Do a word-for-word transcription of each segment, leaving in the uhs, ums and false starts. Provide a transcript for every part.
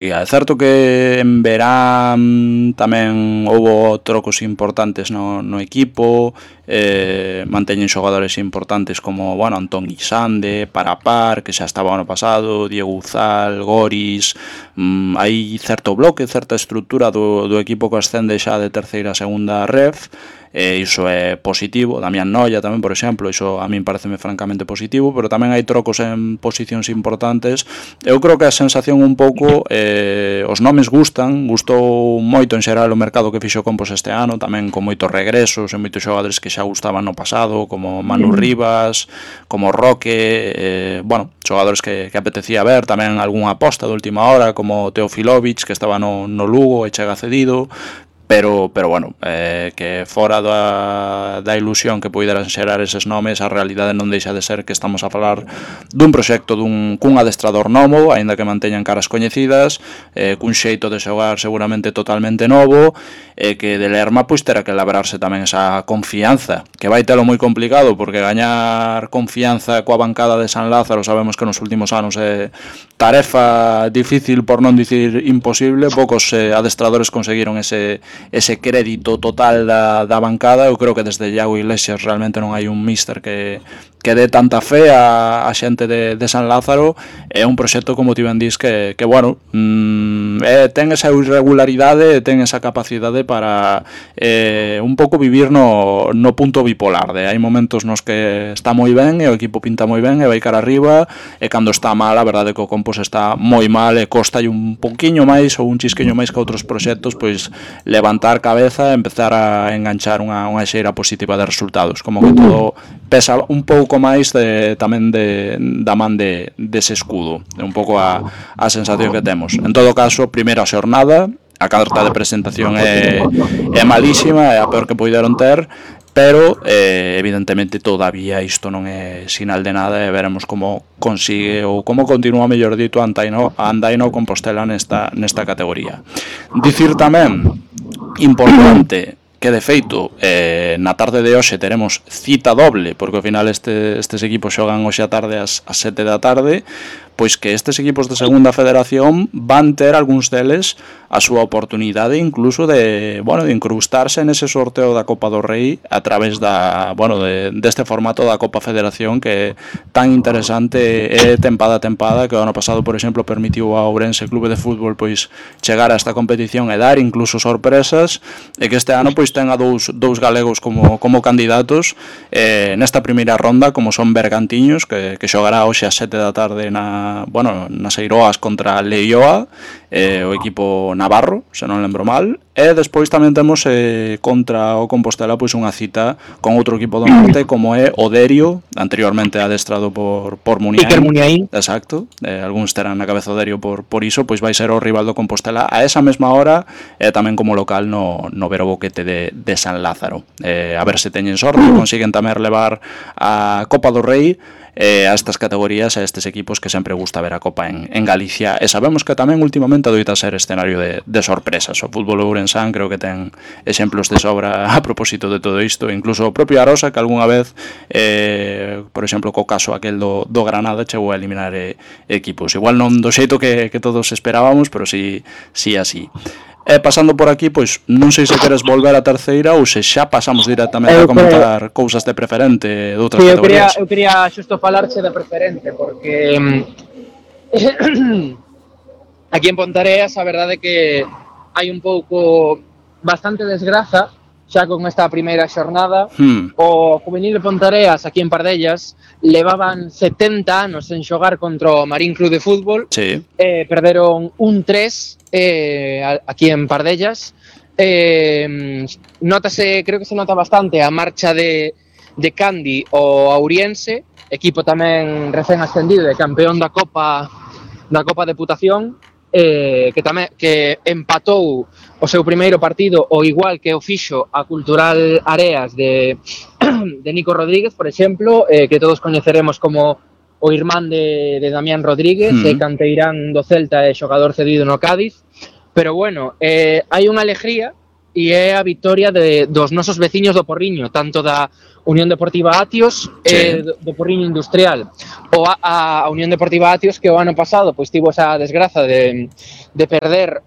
E é certo que en verán tamén houbo trocos importantes no, no equipo, eh, manteñen xogadores importantes como, bueno, Antón Guisande, Parapar, que xa estaba ano pasado, Diego Uzal, Goris, mm, hai certo bloque, certa estrutura do, do equipo que ascende xa de terceira a segunda ref, e iso é positivo. Damián Noia tamén, por exemplo, iso a min pareceme francamente positivo, pero tamén hai trocos en posicións importantes. Eu creo que a sensación un pouco, eh, os nomes gustan, gustou moito en xeral o mercado que fixo Compos este ano, tamén con moitos regresos e moitos xogadores que xa gustaban no pasado, como Manu Rivas, como Roque, eh, bueno, xogadores que, que apetecía ver, tamén algunha aposta de última hora, como Teofilovic, que estaba no, no Lugo e chega cedido. Pero, pero bueno, eh, que fora da, da ilusión que poideran xerar eses nomes, a realidade non deixa de ser que estamos a falar dun proxecto dun, cun adestrador novo, aínda que manteñan caras coñecidas, eh, cun xeito de xogar seguramente totalmente novo, e eh, que de Lerma pois terá que labrarse tamén esa confianza, que vai telo moi complicado, porque gañar confianza coa bancada de San Lázaro sabemos que nos últimos anos é tarefa difícil, por non dicir imposible. Poucos eh, adestradores conseguiron ese ese crédito total da, da bancada. Eu creo que desde Iago Iglesias realmente non hai un míster que, que dé tanta fe a, a xente de, de San Lázaro. É un proxecto, como ti ben dis, que, que bueno, mmm, é, ten esa irregularidade, ten esa capacidade para eh, un pouco vivir no, no punto bipolar, de hai momentos nos que está moi ben e o equipo pinta moi ben e vai cara arriba, e cando está mal, a verdade é que o Compos está moi mal e costa un pouquiño máis ou un chisqueño máis que outros proxectos, pois levantar cabeza e empezar a enganchar unha, unha xeira positiva de resultados, como que todo pesa un pouco máis de, tamén de, da man de, dese escudo. É un pouco a, a sensación que temos. En todo caso, primeira xornada, a carta de presentación é, é malísima, é a peor que poideron ter, pero eh, evidentemente todavía isto non é sinal de nada, e veremos como consigue ou como continúa, mellor dito, a Andaino, a Andaino Compostela nesta, nesta categoría. Dicir tamén, importante, que de feito eh, na tarde de hoxe teremos cita doble, porque ao final este, estes equipos xogan hoxe a tarde ás, ás sete da tarde, pois que estes equipos de segunda federación van ter algúns deles a súa oportunidade incluso de, bueno, de incrustarse nese sorteo da Copa do Rei a través da, bueno, de, deste formato da Copa Federación, que é tan interesante e tempada a tempada, que o ano pasado, por exemplo, permitiu ao Ourense Clube de Fútbol pois chegar a esta competición e dar incluso sorpresas, e que este ano pois ten a dous, dous galegos como, como candidatos eh, nesta primeira ronda, como son Bergantiños, que, que xogará hoxe a sete da tarde na, bueno, nas Eiroas contra Leioa, eh, o equipo navarro, se non lembro mal, e despois tamén temos eh, contra o Compostela pois unha cita con outro equipo do norte como é o Derio, anteriormente adestrado por, por Muniain. Iker Muniain. Exacto, eh, algúns terán na cabeza o Derio por, por iso, pois vai ser o rival do Compostela a esa mesma hora, e eh, tamén como local no, no Vero Boquete de, de San Lázaro. Eh, a ver se teñen sorte, consiguen tamén levar a Copa do Rei eh, a estas categorías, a estes equipos que sempre gusta ver a Copa en, en Galicia, e sabemos que tamén últimamente adoita ser escenario de, de sorpresas. O fútbol ourensán creo que ten exemplos de sobra a propósito de todo isto, incluso o propio Arosa, que algunha vez eh, por exemplo co caso aquel do, do Granada chegou a eliminar eh, equipos, igual non do xeito que, que todos esperábamos, pero sí, sí así. E pasando por aquí, pois non sei se queres volver a terceira ou se xa pasamos directamente a comentar cousas de preferente de outras sí, categorías. Eu quería, eu quería xusto falarche de preferente, porque aquí en Pontareas a verdade é que hai un pouco bastante desgraza xa con esta primeira xornada. hmm. O juvenil de Pontareas aquí en Pardellas levaban setenta anos en xogar contra o Marín Club de Fútbol, sí. eh, perderon un tres eh, aquí en Pardellas. eh, notase, creo que se nota bastante a marcha de, de Candi o Auriense, equipo tamén recén ascendido de campeón da Copa da Copa Deputación, eh, que tamén que empatou o seu primeiro partido o igual que o fixo a Cultural Areas de, de Nico Rodríguez, por exemplo, eh, que todos coñeceremos como o irmán de, de Damián Rodríguez, mm. e canteirán do Celta e xogador cedido no Cádiz. Pero bueno, eh, hai unha alegría e é a victoria de, dos nosos veciños do Porriño, tanto da Unión Deportiva Atios e sí. do, do Porriño Industrial. O a, a Unión Deportiva Atios, que o ano pasado pois tivo esa desgraza de, de perder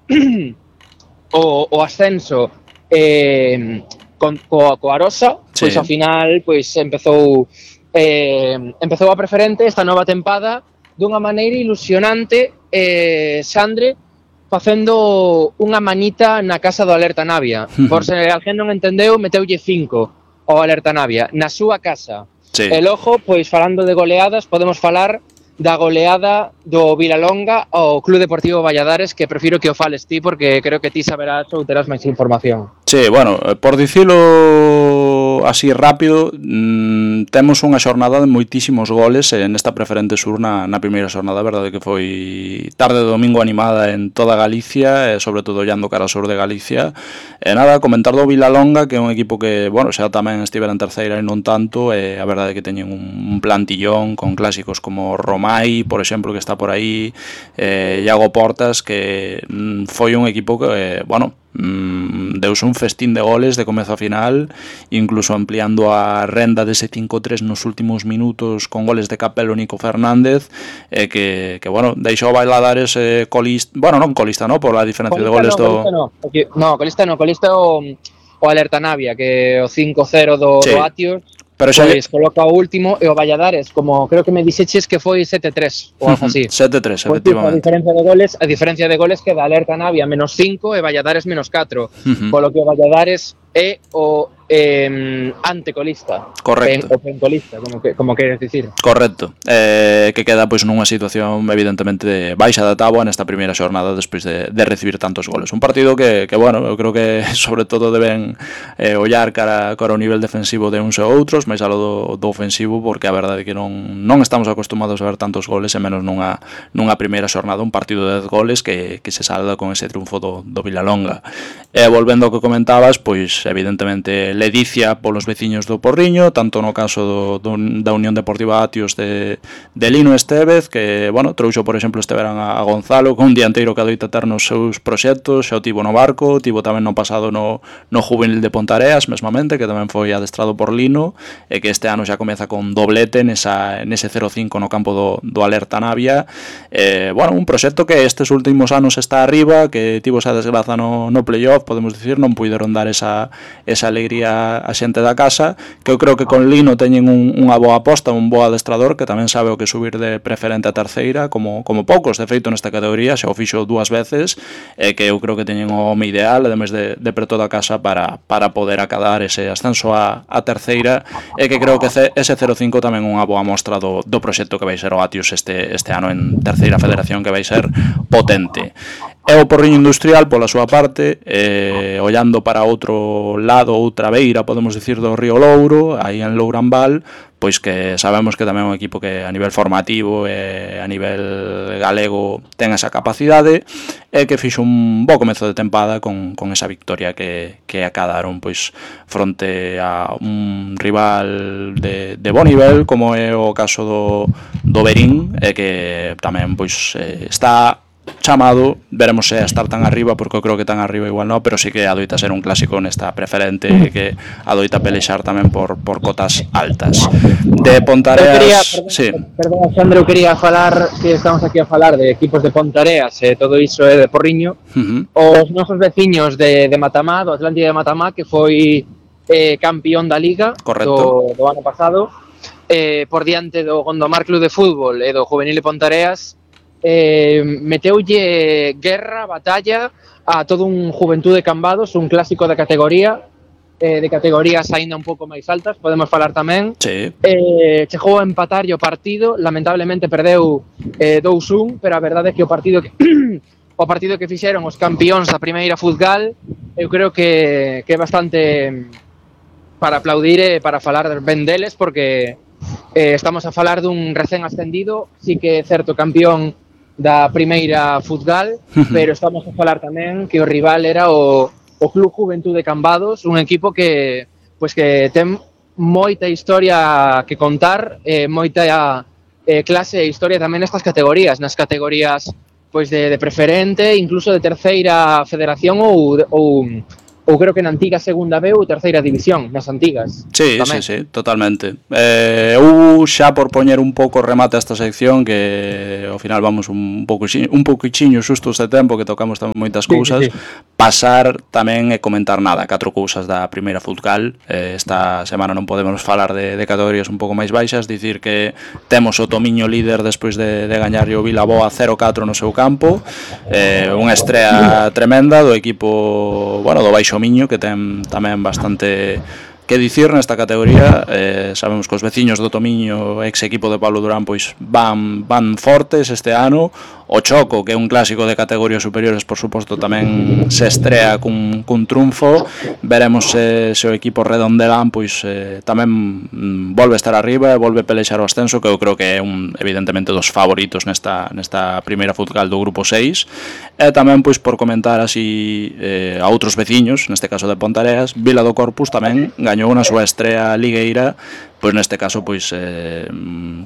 o, o ascenso eh, con, co, co Arosa, pois Sí. ao final pois empezou eh, empezou a preferente esta nova tempada dunha maneira ilusionante, eh, Sandre, facendo unha manita na casa do Alerta Navia. Por se alguén non entendeu, meteulle cinco ao Alerta Navia, na súa casa. Sí. E logo, pois falando de goleadas, podemos falar da goleada do Vilalonga ao Club Deportivo Valladares, que prefiro que o fales ti, porque creo que ti saberás ou terás máis información. Sí, bueno, por dicilo así rápido, mmm, temos unha xornada de moitísimos goles eh, nesta preferente sur na, na primeira xornada, verdade que foi tarde de domingo animada en toda Galicia, e sobre todo ollando cara ao sur de Galicia. E nada, comentar do Vilalonga, que é un equipo que, bueno, xa tamén estivera en terceira e non tanto, e a verdade que teñen un, un plantillón con clásicos como Romai, por exemplo, que está por aí, eh, Iago Portas, que mm, foi un equipo que, eh, bueno, Mm, deuse un festín de goles de comezo a final, incluso ampliando a renda dese cinco tres nos últimos minutos con goles de Capelo, Nico Fernández, eh, que, que bueno, deixou Valladares eh, colista, bueno, non colista, no, por a diferencia colista de goles no, do... colista no, no, colista no, colista o, o Alerta Navia, que o cinco cero do, sí. do Atios, pero xa pois coloca o último, e o Valladares, como creo que me dixeches que foi sete tres ou algo así. sete tres, pues, efectivamente. A diferencia de goles, a diferencia de goles que da Alerta Navia menos cinco e Valladares menos catro. Uh-huh. Polo que o Valladares é o eh, antecolista. Correcto. Pen, o pencolista, como, que, como queres dicir. Correcto. Eh, que queda pois nunha situación evidentemente de baixa da táboa nesta primeira xornada despois de, de recibir tantos goles. Un partido que, que bueno, eu creo que sobre todo deben eh, ollar cara, cara ao nivel defensivo de uns e outros, máis alo do, do ofensivo, porque a verdade é que non, non estamos acostumados a ver tantos goles, e menos nunha, nunha primeira xornada, un partido de dez goles que, que se salda con ese triunfo do, do Vilalonga. E volvendo ao que comentabas, pois evidentemente ledicia polos veciños do Porriño, tanto no caso do, do, da Unión Deportiva Atios de, de Lino Estevez, que, bueno, trouxo, por exemplo, este verán a, a Gonzalo, con un dianteiro que adoita ter nos seus proxectos, xa o tivo no Barco, tivo tamén no pasado no, no Juvenil de Pontareas, mesmamente, que tamén foi adestrado por Lino, e que este ano xa comeza con doblete nesa, nese cero cinco no campo do, do Alerta Navia. Eh, bueno, un proxecto que estes últimos anos está arriba, que tivo esa desgraza no, no playoff, podemos dicir, non puideron dar esa, esa alegría a xente da casa, que eu creo que con Lino teñen un, unha boa aposta, un bo adestrador que tamén sabe o que subir de preferente a terceira, como, como poucos, de feito, nesta categoría, xa o fixo dúas veces, e que eu creo que teñen o home ideal, ademais de, de preto da casa, para, para poder acadar ese ascenso a, a terceira, e que creo que ese cero cinco tamén unha boa mostra do, do proxecto que vai ser o Atios este, este ano en terceira federación, que vai ser potente. E o Porriño Industrial, pola súa parte, eh, ollando para outro lado, outra beira, podemos dicir, do Río Louro, aí en Lourambal, pois que sabemos que tamén é un equipo que a nivel formativo e a nivel galego ten esa capacidade, e que fixo un bo comezo de tempada con, con esa victoria que, que acadaron pois fronte a un rival de, de bo nivel, como é o caso do, do Berín, e que tamén pois eh, está chamado, veremos se a estar tan arriba, porque eu creo que tan arriba igual non, pero sí que adoita ser un clásico nesta preferente, que adoita pelexar tamén por, por cotas altas. De Pontareas... Quería, perdón, sí. perdón, Sandro, eu quería falar, que estamos aquí a falar de equipos de Pontareas, e eh, todo iso é de Porriño, uh-huh. Os nosos veciños de, de Matamá, do Atlántida de Matamá, que foi eh, campeón da Liga do, do ano pasado, eh, por diante do Gondomar Club de Fútbol e do Juvenil de Pontareas, Eh, meteulle guerra, batalla a todo un Juventude Cambados, un clásico da categoría, eh, de categorías aínda un pouco máis altas, podemos falar tamén. Sí. Eh, chegou a empatar o partido, lamentablemente perdeu eh, dous un, pero a verdade é que o partido que o partido que fixeron os campións da primeira Futgal, eu creo que, que é bastante para aplaudir e para falar ben deles, porque eh, estamos a falar dun recén ascendido, sí que é certo campión da primeira Futgal, pero estamos a falar tamén que o rival era o, o Club Juventude Cambados, un equipo que pois que ten moita historia que contar, eh, moita eh, clase e historia tamén nestas categorías, nas categorías pois de, de preferente, incluso de terceira federación ou, ou, ou creo que na antiga segunda B ou terceira división, nas antigas. Sí, tamén. sí, sí, totalmente. Eh, eu xa por poñer un pouco remate a esta sección, que ao final vamos un pouco un pouquichiño xustos de tempo, que tocamos tamén moitas cousas, sí, sí, sí. Pasar tamén e comentar nada, catro cousas da primeira Futcal. Eh, esta semana non podemos falar de, de categorías un pouco máis baixas, dicir que temos o Tomiño líder despois de, de gañarlle o Vilaboa cero catro no seu campo, eh, unha estrea tremenda do equipo, bueno, do Baixo Miño, que ten tamén bastante que dicir nesta categoría. Eh, sabemos que os veciños do Tomiño, ex equipo de Pablo Durán, pois van, van fortes este ano. O Choco, que é un clásico de categorías superiores, por suposto, tamén se estrea cun, cun triunfo. Veremos se, se o equipo redondelán pois eh, tamén mm, volve a estar arriba e volve a pelexar o ascenso, que eu creo que é un, evidentemente, dos favoritos nesta, nesta primeira Futcal do grupo seis. E tamén, pois, por comentar así eh, a outros veciños, neste caso de Pontareas, Vila do Corpus tamén gañou na súa estrea ligueira, pois neste caso pois eh,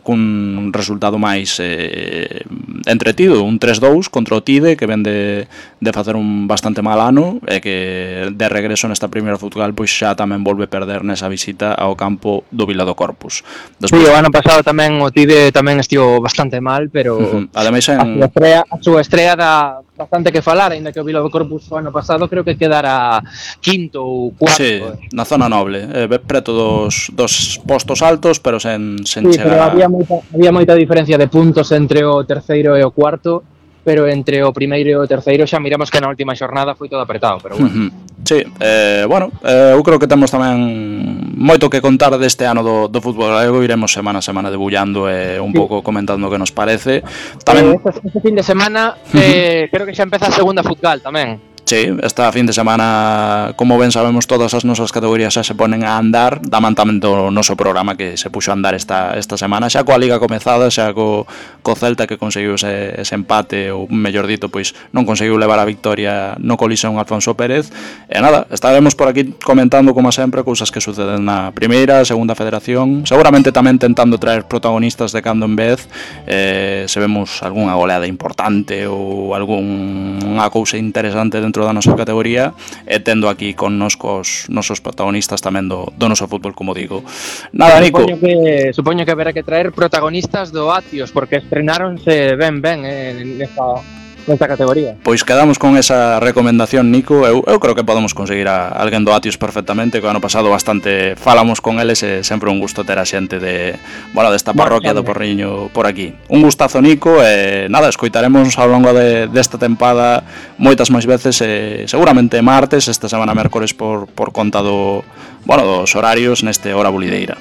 cun resultado máis eh, entretido, un tres dous contra o Tide, que ven de, de facer un bastante mal ano e que de regreso nesta primeira Futgal pois xa tamén volve perder nesa visita ao campo do Vila do Corpus. Despois, sí, o ano pasado tamén o Tide tamén estivo bastante mal, pero uh-huh. Ademais en... a súa estrela, a súa estrela dá bastante que falar, ainda que o Vila do Corpus o ano pasado creo que quedara quinto ou cuarto. Sí, na zona noble, eh, preto dos, dos postos altos, pero sen, sen sí, chegar pero había moita, había moita diferencia de puntos entre o terceiro e o cuarto, pero entre o primeiro e o terceiro xa miramos que na última xornada foi todo apretado, pero bueno. Uh-huh. Sí, eh, bueno, eh, eu creo que temos tamén moito que contar deste ano do, do fútbol galego. Iremos semana a semana debullando e eh, un sí. pouco comentando o que nos parece. Tamén... Eh, este, este fin de semana eh, uh-huh. creo que xa empeza a segunda Futcal tamén. Sí, esta fin de semana, como ben sabemos, todas as nosas categorías xa se ponen a andar. Daman tamén do noso programa que se puxo a andar esta, esta semana, xa coa Liga comezada, xa co, co Celta, que conseguiu ese, ese empate, ou mellor dito, pois non conseguiu levar a victoria no Colisón Alfonso Pérez. E nada, estaremos por aquí comentando, como sempre, cousas que suceden na primeira, segunda federación, seguramente tamén tentando traer protagonistas de cando en vez, eh, se vemos algunha goleada importante ou algunha cousa interesante dentro da nosa categoría, e tendo aquí con nos cos nosos protagonistas tamén do, do noso fútbol, como digo. Nada, Nico. Supoño que, supoño que haberá que traer protagonistas do Atios, porque estrenáronse ben ben en esta, nesta categoría. Pois quedamos con esa recomendación, Nico. Eu, eu creo que podemos conseguir a alguén do Atios perfectamente, que o ano pasado bastante falamos con eles, e sempre un gusto ter a xente de, bueno, desta parroquia do Porriño por aquí. Un gustazo, Nico, e nada, escoitaremos ao longo de, desta tempada moitas máis veces, e seguramente martes, esta semana mércores por, por conta do, bueno, dos horarios neste Hora Bulideira.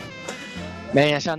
Ben, xa